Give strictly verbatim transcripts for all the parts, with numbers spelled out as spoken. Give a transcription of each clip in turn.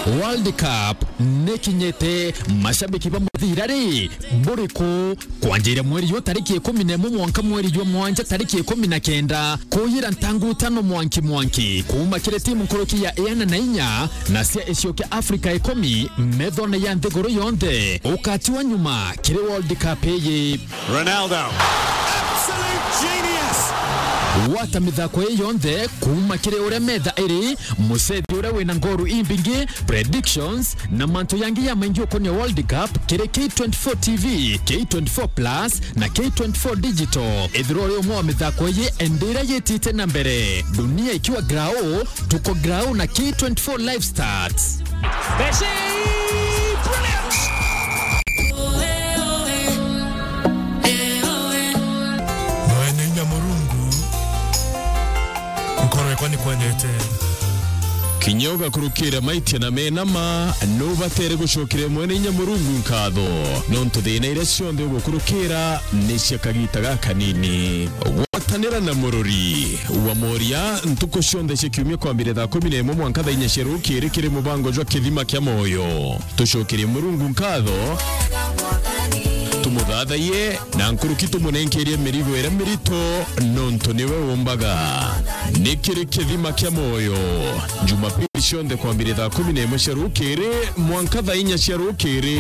World Cup nikinyite, mashabiki ba muthira ri, buriku? Kwanjiria mweri jwa tariki ikumi na imwe mwanka mweri jwa mwanja tariki ikumi na kenda, kuyira ntangu itano mwanki mwanki, kuuma kiri timu nkuruki ya iana na inya na cia icio kia Afrika ikumi, methone ya nthiguru yonthe. Ukatiwa nyuma kiri World Cup iyi. Ronaldo. Absolute genius. Gwata mithako ii yonthe kuuma kiri uria metha iri, mucethi uria wina ngoru imbingi, predictions, na mantu yangi ya maingi ukonia World Cup kiri K twenty-four T V, K twenty-four Plus, na K twenty-four Digital. Ethirwa uri umwe wa mithako ii, endira yitite na mbere. Dunia ikiwa grau, tuko grau na K twenty-four Live Stats. Messi! Brilliant! Mwene inya Murungu, nkoro yakwa ni kwendete. Kinya ugakurukira maitia na mena ma, nubatere gucokeria Mwene inya Murungu nkatho, nontu thina iria cionthe ugukurukira ni cia kagita gakanini. Gwatanira na murori wa Moria ntuku cionthe cia kiumia kwambire thaa kumi na imwe mwanka thaa inya cia rukiri kiri mubango jwa Kithima kia Moyo. Tucokerie Murungu nkatho, tumuthathaiye, na nkuruki tumunenkerie mirigo iria mirito, nontu niwe umbaga. Ni kiri Kithima kia Moyo, Jumapili cionthe kwambire thaa kumi na imwe cia rukiri mwanka thaa inya cia rukiri.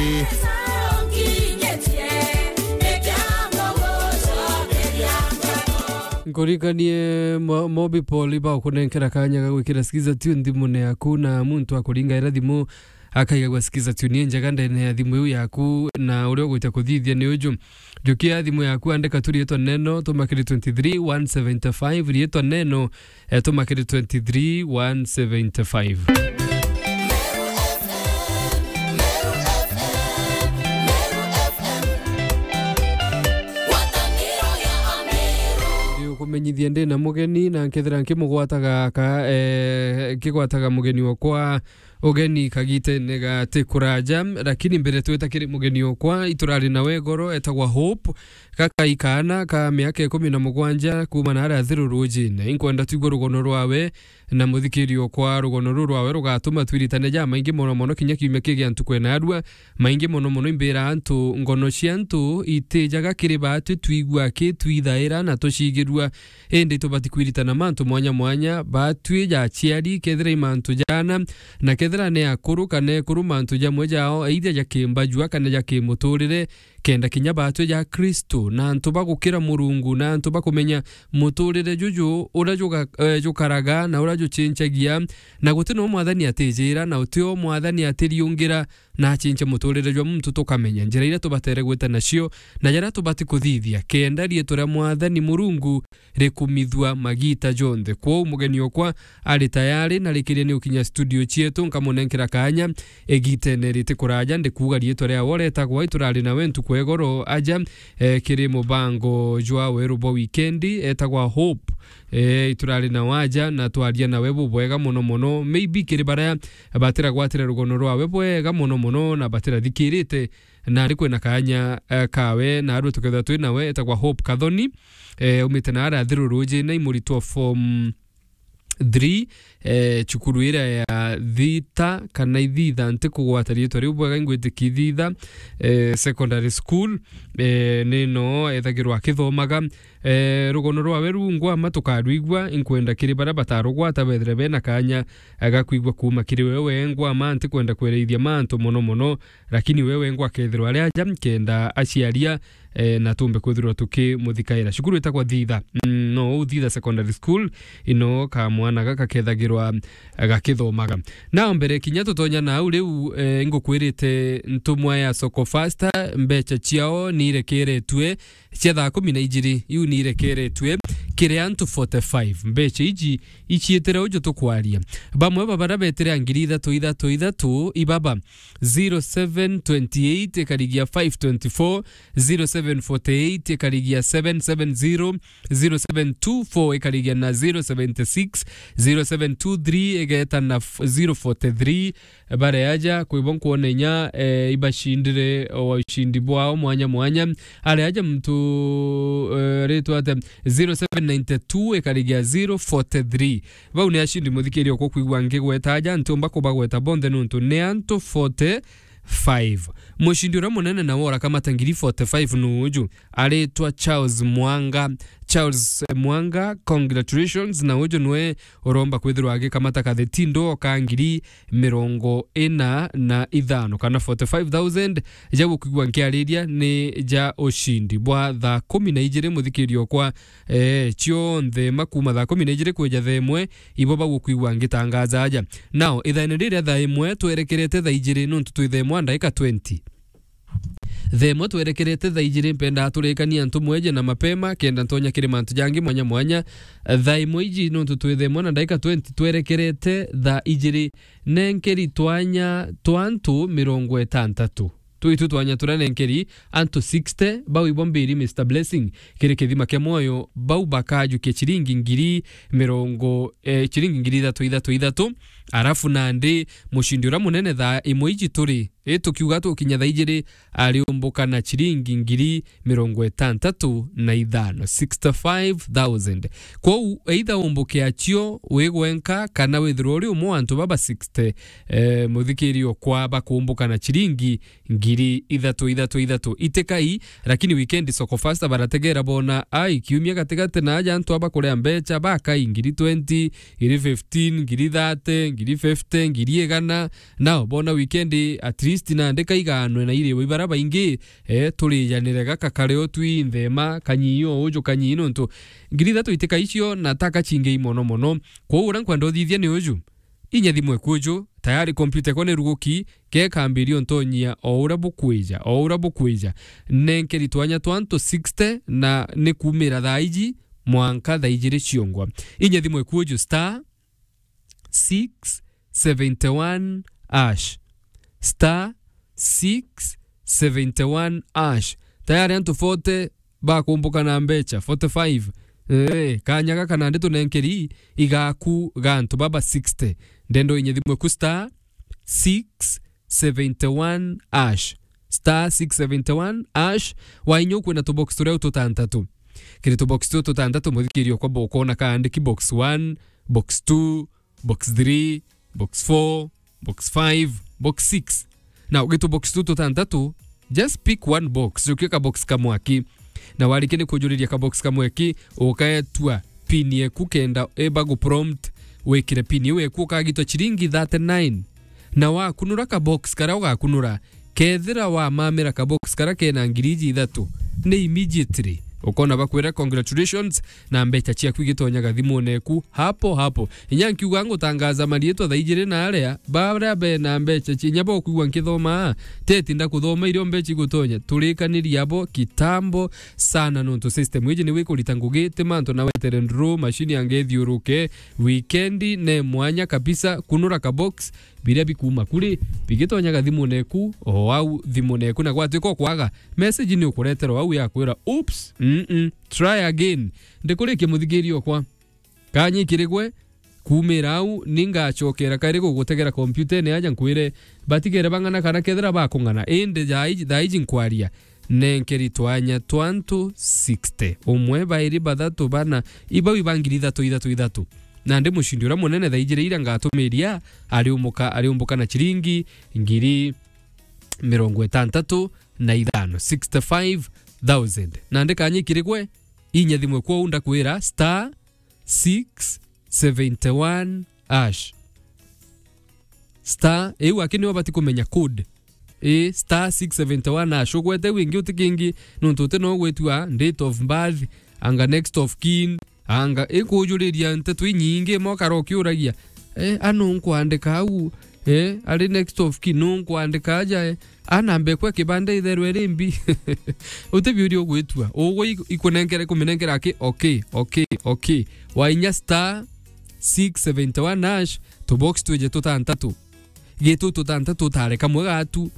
Nkuririkanie mo-, Mobi Paul iba ukunenkera kanya ga gwikira Skiza Tune thimune yaku, na muntu akuringaira thimu akaigagua Skiza Tune injega ndene ya thimu iu yaku, na uria ugwita kuthithia ni uju. Jukia thimu yaku, andika tu riitwa neno, tuma kiri twenty-three one seventy-five, riitwa neno, eh, tuma kiri twenty-three one seventy-five. Ndi ukumenyithia ndi na mugeni, na nkethira nkimugwataga aka, eh, nkigwataga mugeni okwa ugeni kagitene gati kuraja, lakini mbere twita kiri mugeni okwa, iturari nawe goro, etagwa Hope, gakai kaana ka miaka ikumi na mugwanja kuuma na aria Thiru Rujine. Inkwenda twigwe rugono rwawe, na muthikiri okwa, rugono ruu rwawe rugatuma twiritane jamaingi mono mono kinya kiumia kii gia ntuku ena arua. Maingi mono mono imbira antu, ngono cia antu itijaga kiri baatwi twigua ki twithaira na tucigirua. Indi tubati kwiritana mantu mwanya mwanya, baatwi ja aciari, kethira i mantu jaana, na kethira ni akuru kana ekuru, mantu jamwe jao either ja kimbajua kana ja kimuturire, kenda kinya baatwi ja Kristo, na antu ba gukira Murungu, na antu ba kumenya muturire juju uria juga-, eh, jukaraga na uria jucincagia, na guti no mwathani atijira, na uti o mwathani atiriungira, na acince muturire jwa muntu tukamenya njira iria tubatere gwita nacio, na jaria tubati kuthithia, kenda riitwa ria mwathani Murungu rikumithua magiita jonthe. Kwou mugeni okwa ari tayari, na rikiria ni ukinya studio cietu, nkamunenkera kaanya igitene riti kuraja. Ndikuuga riitwa riawe uretagwa, iturari nawe ntuku egoro aja, eh, kiri mubango jwa weru bwa wikendi, etagwa Hope. Eh, iturari nawe aja na twaria nawe bubwega mono mono. Maybe kiri baria batiragwatire rugono rwawe bwega mono mono na batirathikirite, na ari kwina kaanya, eh, kawe, na arua tukethirwa twi nawe, etagwa Hope Kathoni, eh, umite na aria Thiru Rujine, i muritwa wa form three, eh, cukuru iria ya Thita kana Ithitha, ntikugwata riitwa riu bwega, ingwitikia Ithitha, eh, Secondary School, eh, ni no ethagirwa akithomaga. Eh, rugono rwawe ruu ngwama tukarwigua, inkwenda kiri baria batarugwata bethire bena kaanya, eh, ga kwigua kuuma kiri we wengwa ma, ntikwenda kwereithia mantu mono mono, lakini we wengwa akethirwa ari aja, kenda aciaria, eh, na tumbe kwithirwa tukimuthikaira. Cukuru itagwa Thitha. Mm, no, uu Thitha Secondary School, ino kamwana gaka kethagirwa, eh, gakithomaga. Na mbere kinya tutonya nau riu, eh, ngukwirite ntumwa ya Soko Fasta, mbecha ciao ni irekeretue, cia thaa kumi na ijiri, iu ni irekeretue kiri antu forty-five. Mbecha iji iciitire uju tukwaria. Bamwe ba baria betire a ngiri ithatu ithatu ithatu, ibaba, zero seven twenty eight ikarigia five twenty four, zero seven forty eight ikarigia seven seven zero, zero seven two four ikarigia na zero seventy six, zero seven two three igeta na f-, zero forty three, baria aja, kwi bo nkwona inya, eh, ibacindire o ucindi bwao mwanya mwanya. Aria aja muntu, eh, ritwa ate, zero seven ninety-two ikarigia zero forty-three. Bau ni acindi, muthikiria, ukwigua ngigweta aja, ntiumba kubagweta bonthe nontu ni antu forty-five. Mucindi uria munene nawe urakamata ngiri forty-five nu uju, aritwa Charles Mwanga. Charles Mwanga, congratulations, na uju nwe uromba kwithirwa agikamata kathetindo ka ngiri mirongo ina na ithano kana forty-five thousand. Ja gukwigua nkiariria ni ja ucindi bwa thaa kumi na ijiri, muthikiria okwa, eh, cionthe ma kuma thaa kumi na ijiri kwija thaa imwe, ibo bagukwigua ngitangaza aja. Now, ithaene riria thaa imwe twerekerete thaa ijiri, nontu twi thaa imwe na ndaika twenty. Thaa imwe twerekerete thaa ijiri, mpendaa turikanie antu mweje na mapema, kenda ntonya kiri mantu jangi mwanya mwanya. Thaa imwe iji, nontu twi thaa imwe na ndaika twenty, twerekerete thaa ijiri, nenkeri twanya twa antu mirongo itantatu. Twitu twanya turia nenkeri antu sixty, bau ibo mbiri, Mister Blessing, kiri kithima kia mwoyo, bau bakajukia chiringi ngiri mirongo, eh, chiringi ngiri ithatu, ithatu, ithatu. Arafu nandi mucindi uria munene thaa imwe iji turi, i tukiuga tukinya thaa ijiri, ariumbuka na chiringi ngiri mirongo itantatu na ithano, sixty-five thousand. Kwou, either umbuke acio wi gwenka kana withirwe uri umwe wa antu baba sixty, eh, muthikiri okwa bakumbuka na chiringi ngiri ithatu, ithatu, ithatu. Itikai, lakini weekend Soko Fasta barategera bona, ai, kiumia gatigati na aja antu aba kuria mbecha, bakai ngiri twenty, ngiri fifteen, ngiri thirty, ngiri fifty, ngiri igana. Nao bona weekend at least nandi kaiganwe na iriwe ibara baingi, eh, turijanire gaka kare o twi nthema, kanyii o uju, kanyii nontu ngiri ithatu itikai cio na taka cingei mono mono. Kwou uria nkwenda uthithia ni uju. Inya thimu eku uju, tayari kompyuta ekwa ni ruguki, kekambiria untonyia o uria bukwija, o uria bukwija. Nenkeri twanya twa antu sixty na ni kumira thaa iji mwanka thaa ijiri ciongwa. Inya thimu eku uju, star six seventy one hash. Star six seventy one hash. Tayari antu forty bakumbuka na mbecha, forty-five. Eh, kanya gaka nandi tunenkeri igaku ga antu baba sixty. Ndendo inya thimu eku star six seventy one hash. Star six seventy one hash. Wainya ukwina tubox turia tutantatu. Kiri tubox tu tutantatu, muthikiri okwa bo ukona kaandiki box one, box two, box three, box four, box five, box six. Na ugitu box tu tutantatu, just pick one box, jukia ka box kamwe aki. Na warikia ni kujuriria ka box kamwe aki, ukaetua pin yeku kenda eba gu prompt wikire pin iu eku, ukagitwa chiringi thirty-nine. Na wakunura ka box karia ugakunura, kethira wamamira ka box karia kena ngiri iji ithatu, ni immediately ukona bakwira congratulations, na mbecha ciaku igitonyaga thimune eku hapo hapo. Inya nkiuga ngutangaza marietwa thaa ijiri na aria, baria bena mbecha cia inya bokwigua nkithoma, teti ndakuthoma irio mbecha igutonya. Turikanirie abo kitambo sana, nontu system iji niwe ikurita ngugi, ti mantu na wetere nduru, machine yange ithiuruke. Weekend ne mwanya kabisa, kunura ka box, biria bikuuma kuri, bigitonyaga thimune eku, o au thimune eku, na gwatuika ukwaga, message ni ukureterwa au ya kwira, "Oops, mm-mm, try again." Ndikurikia muthikiri okwa. Kanya ikirigwe, kuumira au, ni ngacokera kairi gugutegera kompyutene aja nkwire, batigere bang'ana kana kethira bakung'ana. Indi thaa iji, thaa iji nkwaria, nenkeri twanya twa antu sixty. Umwe, bairi, bathatu, bana, ibau iba ngiri ithatu, ithatu, ithatu. Nandi mucindi uria munene thaa ijiri iria ngatumiria ariumuka, ariumbuka na chiringi ngiri mirongo itantatu na ithano, sixty-five thousand. Nandi kanya ikirigwe, inya thimwe kwou ndakwira star six seventy one hash. Star, iu aki niwe ubati kumenya code. Ii, star six seventy one hash. Ugwete iu ingi uti kingi, nontu uti no ugwitua date of birth, anga next of kin, anga ikujuriria nteto inyingi, imwe ukara ukiuragia, "Eh, a nu nkwandika au? Eh, ari next of kin, nu nkwandika aja, eh? A namba ekwa kibanda itherwe iri mbi?" Uti biuria ugwitua. Ugwe ik-, ikunenkere, kuminenkera aki, okay, okay, okay. Wainya star six seventy one hash, tubox twije tutantatu. Gitu tutantatu utare kamwe gatu.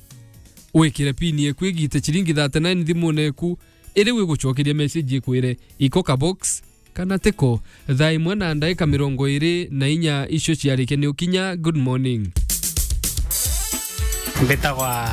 Wikire pin yeku igite chiringi thirty nine thimune eku. Iri wigucokeria message ikwire, iko ka box kana tiko. Thaa imwe na ndaika mirongo iri na inya icio ciarikia ni ukinya. Good morning. Mbitagwa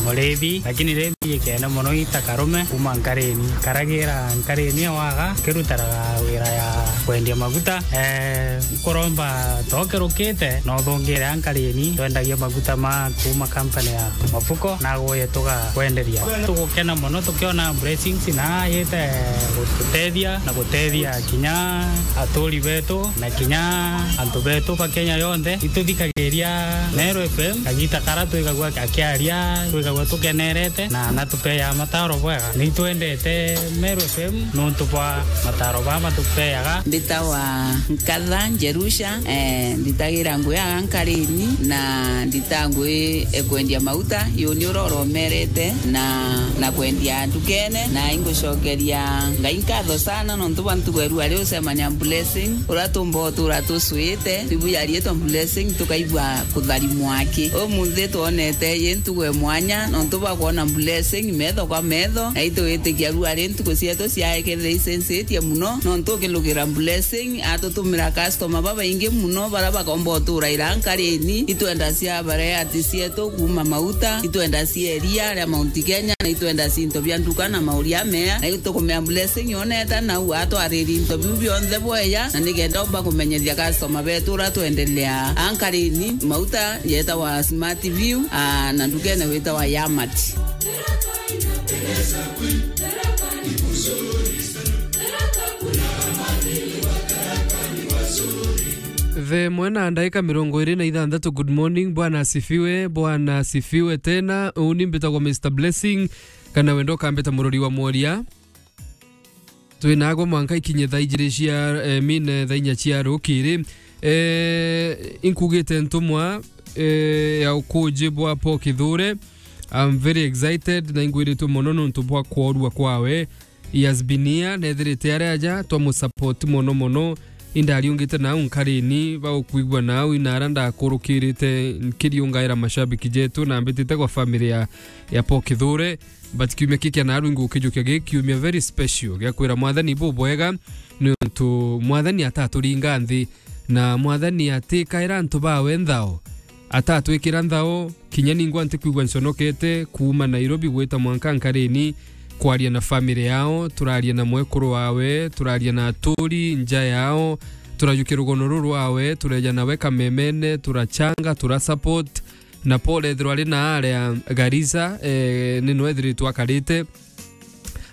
urithi, lakini ri mbijikene mono ita karume kuuma Nkarini. Karagira Nkarini ewaga, kirutaraga wira ya kwendia maguta. Eh, nkuromba tokerukite, no uthungire a Nkarini, twendagia maguta ma kuuma company ya Mafuko, na aguye tugakwenderia. Tugukena mono tukiona blessings na yite gututethia na gutethia kinya aturi betu na kinya antu betu ba Kenya yonthe. Ituthikagiria Meru F M, kagita kara twigagua akiaria, twigagua tukenerete, na natupeaga mataro bwega. Nitwendete Meru F M nontu bwa mataro baa matupeaga. Mbitawa Nkatha Njerusha, eh, nditagira ngui aga Nkarini, na ndita ngui e kwendia mauta, yuni uria uromerete, na, na kwendia ndukene, na ingucokeria Ngai nkatho sana nontu bwa ntugo eru ari ucemania Blessing, uria tumba utura tucwite, twibuja riitwa Blessing, tukaigua kutharimwa aki. Umunthi twonete yi ntugo e mwanya nontu bwa kwona Blessing metho kwa metho, na itwitikia ru ari ntuku cietu ciaekethire icencetie muno, nontu ukilugira Blessing atutumira customer babaingi muno, baria bakomba utura ira Nkarini. Itwenda cia bareati cietu kuuma mauta, itwenda cia iria ria Mount Kenya, na itwenda cinto bia nduka na mauria mea, na itukumea Blessing yoneta nau atwariri into biu bionthe bweya, na nikenda umba kumenyethia customer betu uria twendelea a Nkarini. Mauta yetawa Smart View, aa, na ndukene witawa Yamat. The mwe na ndaika mirongo iri na ithanthatu. Good morning, Bwana asifiwe, Bwana asifiwe tena. Uni mbitagwa Mister Blessing, kana wenda ukambita murori wa mworia. Twi nagwe mwanka ikinye thaa ijiri cia, eh, mine thaa inya cia rukiri. Eh, inkugite ntumwa, eh, ya ukuji bwa Paul Kithure. I'm very excited na ingwiritwe mono nontu bwa kworua kwawe. He has been here, nethirite ari aja, twamusupport mono mono. Indariungite nau Nkarini, baukwigua nau, inara ndakurukirite nkiriungaira mashabiki jetu, na mbitite kwa family ya, ya Paul Kithure. But kiumia kiki naru ingukijukia gi kiumia very special gia kwira Mwathani bubwega, niuntu Mwathani ataturinga nthi, na Mwathani atikaira antu bawe nthao, atatwikira nthao. Kinya ningwa ntikwigua nconokete kuuma Nairobi gwita mwanka Nkarini kwaria na family yao, turaria na mwekuru wawe, turaria na aturi nja yao, turajukia rugono ruru rwawe, tureja nawe kamemene, turachanga, turasupport. Na Paul ethirwa ari na aria Garissa, eh, ni no ethiritwe akarite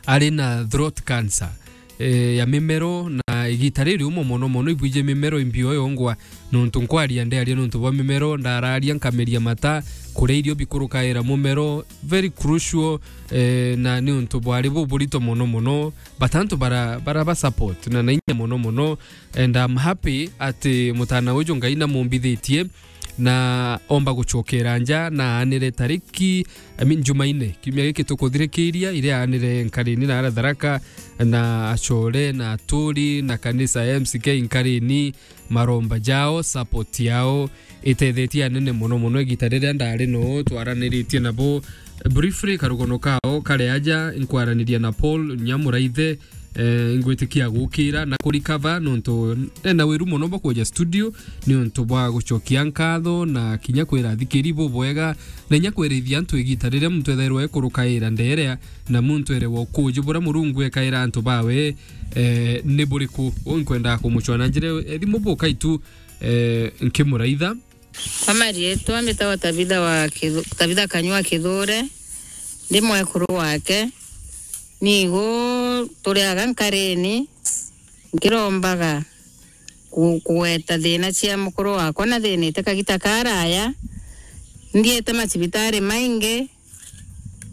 ari na throat cancer, eh, ya mimero, na igita riri umo mono mono ibwije mimero imbio yongwa, nontu nkwaria ndiaria nontu bwa mimero, ndararia nkameria mata, kuria irio bikurukaira mumero, very crucial, eh, na ni untu bwari buburito mono mono, but antu bara, bara ba support na na inya mono mono, and I'm happy ati mutana uju Ngai namumbithitie, na omba gucokera nja na aanire tariki, I mean, Jumaine, kiumia giki tukuthirikiria, iria aanire Nkarini na ara Tharaka, na acore, na aturi, na kanisa ya M C K Nkarini, maromba jao, support yao, itethetie anene mono mono igita riria ndari no twaraniritie nabo. Briefly, karugono kao kare aja, nkwaraniria na Paul Nyamuraithe, eh, ngwitikia gukira na kurikava nontu ena wiru mono bwa kuja studio niuntu bwa gucokia nkatho na kinya kwira athikiri bubwega na inya kwirithia antu igita riria muntu ethairwa ekurukaira nderea na muntu ere wa ukuji buria Murungu ekaira antu bawe, eh, ni buriku. Uu nkwendaa kumucwa na njira ethi mubuka itu, eh, nkimuraitha. Kwa marietwa mbitagwa Tabitha wa Kithu-, Tabitha Kanyua Kithure, ndi mwekuru wake. Nigu turiaga Nkarini, nkirombaga ku-, kugweta thina cia mukuru wakwa, na thinite kagita karaya. Nthiete macibitari maingi,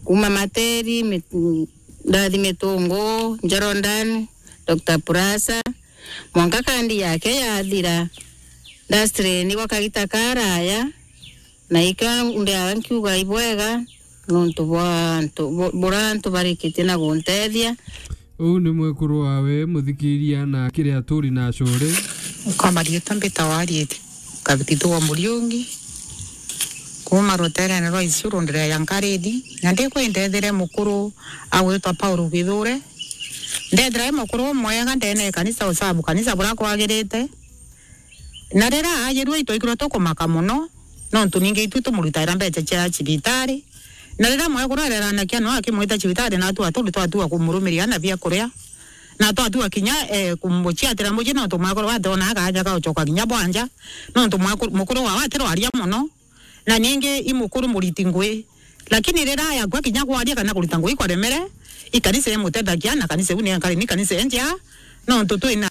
kuma Materi, Mi-, Ndathi Mitungu, Njorodan, Doctor Purasa, mwanka kandi yake yathira. Ndastrainigwa kagita karaya, na ikio ndiaga nkiuga ibwega, nontu bwa antu, bu-, buria antu barikitie na guntethia. Uu ni mwekuru wawe, muthikiria, na akiri aturi na acore. Kwa marietwa mbitagwa Arieti Kabitithu wa Muriungi, kuma ruterene rwa Isiuru, ndireja Nkarini, na ndikwindethire mukuru agwitwa Paul Kithure. Ndethira i mukuru umwega ndene ya kanisa, usabu kanisa buria kwagirite. Na riria aajirue, itwaigirwe tukumaka mono, nontu ningi itu tumurutaira mbeca cia cibitari, Na riria mwekuru areranakia no akimwita cibitari, na atua turi twatua kumurumiria na bia kuria, na twatua kinya, eh, kumuciatira mucii, nontu mwekuru ati ona akaja gaucoka kinya bwanja, nontu mwekuru, mukuru wao atirwaria mono, na ningi i mukuru muriti ngui. Lakini riria yakua kinya kwaria kana kurita ngui kwaremere, i kanisa imutethagia, na kanisa iu ni nkari ni kanisa enjea, nontu twina,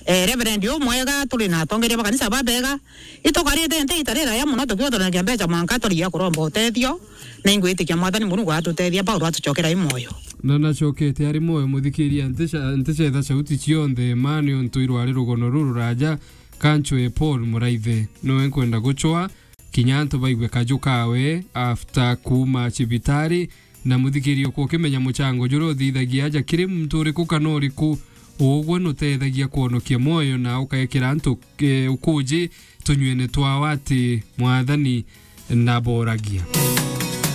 eh, reverend umwega, turi na atongeria ba kanisa babega. Itukarite nte ita riraya mono tukiuthanagia mbeca mwanka turia kuromba utethio, na ingwitikia Mwathani Murungu atutethia, Paulo atucokera i mwoyo. Na nacokete ari mwoyo, muthikiria, nticha-, ntichetha sauti cionthe, ma ni untu irwari rugono ruru ruraja, kanchwe Paul Muraithe. Noe nkwenda gucwa, kinya antu baigue kaju kawe after kuuma cibitari, na muthikiria ukwa ukimenya muchango juria uthithagia aja kiri muntu uriku kana uriku, ugwe nutethagia kwonokia mwoyo na ukaekera antu, eh, ukuji tunyuene twawe ati Mwathani naboragia.